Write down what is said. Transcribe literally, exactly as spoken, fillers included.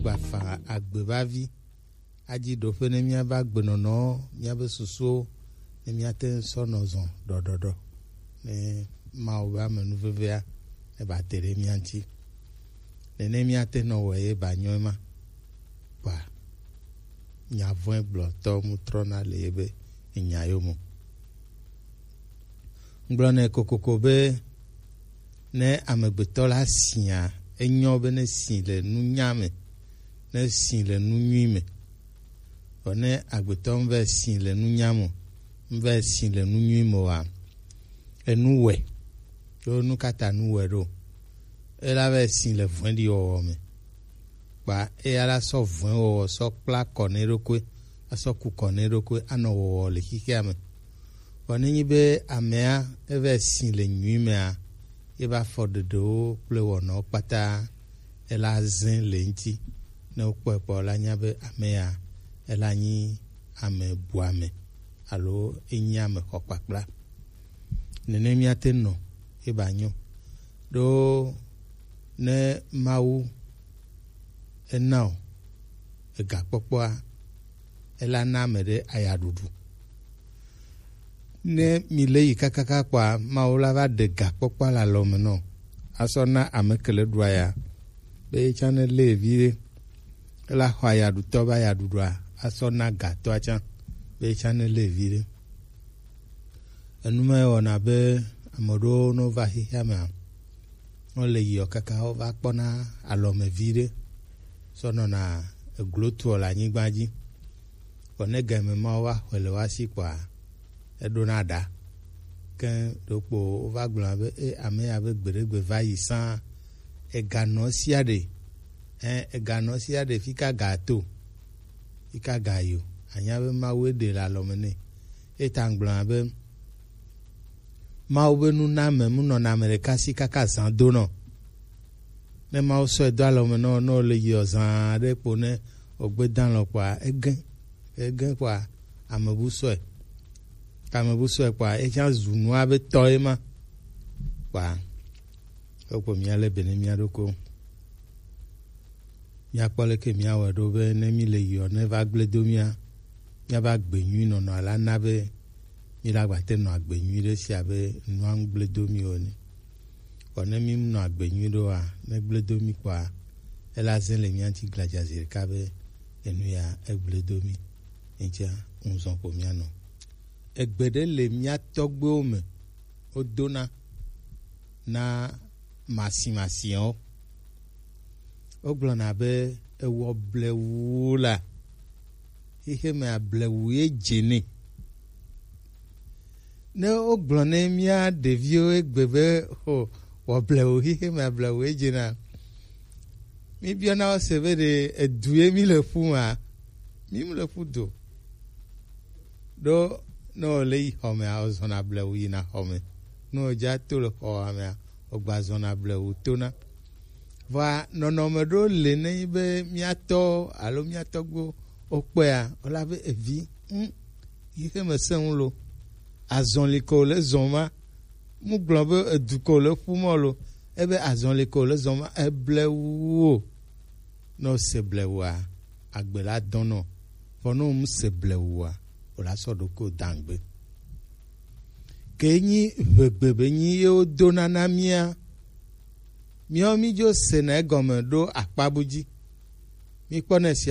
Gbafa agbebavi. Aji ɖoƒe ne míabe agbenɔnɔ, míabe susuwo, ne míate ŋu sɔ nɔ zɔ ɖɔɖɔɖɔ. Ne Mawu be amenuvevea ne ba te ɖe mía ŋuti. Nene míate nɔ wɔ ye ba nyɔe ma. Kpa nya vɔ̃e gblɔtɔ mu trɔna le yebe nya yo mo. Ŋgblɔ nɛ kokoko be ne amegbetɔ la sia, enyo be ne si le nunya me, ne si le nu nyui me. Vɔ ne agbetɔ ŋvɛ si le nunya me, ŋvɛ si le nu nyui me wa, enu wɛ, ɖo nu kata nu wɛ ɖo. Ela vɛ si le vɔ̃ɖi wɔwɔ me. Kpa eya la sɔ vɔ̃e wɔwɔ sɔ kpla kɔ ne ɖokui, asɔ ku kɔ ne ɖokui, anɔ wɔwɔ le xixia me. Vɔ ne nyi be amea, evɛ si le nyui mea, ye ba fɔ ɖeɖewo kple wɔnɔwo kpata, ela zẽ le ŋuti. Ne wokpɔe kpɔ, la nya be ame ya, ela nyi ame buame alo enyi ame xɔkpakpla. Nene míate nɔ ye ba nyɔ. Ɖo ne Mawu ena o egakpɔkpɔa, ela na ame ɖe ayaɖuɖu. Ne mi le yi kakaka kpɔa, Mawu la va ɖe gakpɔkpɔa le alɔme nɔ, asɔ na ame ke le ɖua ya, be etsã ne le vi ɖe. Ela xɔ ayaɖutɔ be ayaɖuɖua, asɔ na gatɔa tsã, be etsã ne le vi ɖe. Enu ma wɔna be ame ɖewo no va xexea mea, wole yiɔ kaka wova kpɔna alɔme vi ɖe, sɔ nɔna eglo tuɔ le anyigba dzi. Vɔ ne game mawo va xɔe le woasi kpɔa, eɖona ɖa. Ke ɖokpo wova gblɔna be, e, ame ya be gbeɖegbe va yi sã, eganɔ sia ɖe, ɛ, eganɔ sia ɖe fika ga to, fika ga yo, anya be Mawu ɖe le alɔme nɛ. Eta gblɔna be, Mawu be nuname mu nɔna ame ɖeka si kaka zã do nɔ. Ne Mawu sɔe do alɔme nɔ, ne wòle yiɔ zã ɖe kpo ne wògbe dã lɔ kpɔa, egẽ, egẽ kpɔa, ame bu sɔe. Ke ame bu sɔe kpɔa, etsã zu nua be tɔ ye ma. Kpɔa, wokpɔ mía le be ne mía ɖokui. Míakpɔ leke míawɔe ɖo be ne mí le yiɔ ne va gblẽ do mía, míava gbe nyui nɔnɔ ala na be mí la gba te nɔ agbe nyui ɖe sia be nua ŋu gblẽ do mí o ene. Vɔ ne mí nɔ agbe nyui ɖoa, ne gblẽ do mí kpɔa, ela zẽ le mía ŋuti gladza zi ɖeka be enu ya egblẽ do mí. Eŋutia ŋuzɔn ko mía nɔ. Egbe ɖe le mía tɔgbuiwo me, wodona na masimasiawo. Wogblɔna be ewɔ blewu la, xexe me ablewu ye dze nɛ. Ne wogblɔ ne mía ɖeviwo egbe be, o, wɔ blewu, xexe me ablewu ye dze na, míbiɔna wo se be ɖe edu ye mí le ƒu ma, mí mu le ƒu do. Ɖo ne wòle yi xɔmea, wòzɔna blewu yina xɔme. Ne wòdza to le xɔa mea, wògba zɔna blewu tona. Vɔa nɔnɔme ɖewo le ne nyi be mía tɔ alo mía tɔgbuiwo wokpɔea, wola be evi, ŋ, yi xe me sẽ ŋu lo. Azɔli ko le zɔn ma. Mu gblɔ be edu ko le ƒu mɔ lo. Ebe azɔli ko le zɔn ma, eblewu o. Ne wose blewua, agbe la dɔnɔ. Vɔ ne womese blewua, wòla sɔ ɖokui dangbe. Ke nyi ʋegbe be nyi ye wodona na mía. Míawo mídzo sena egɔme ɖo akpa bu dzi. Míkpɔnɛ sia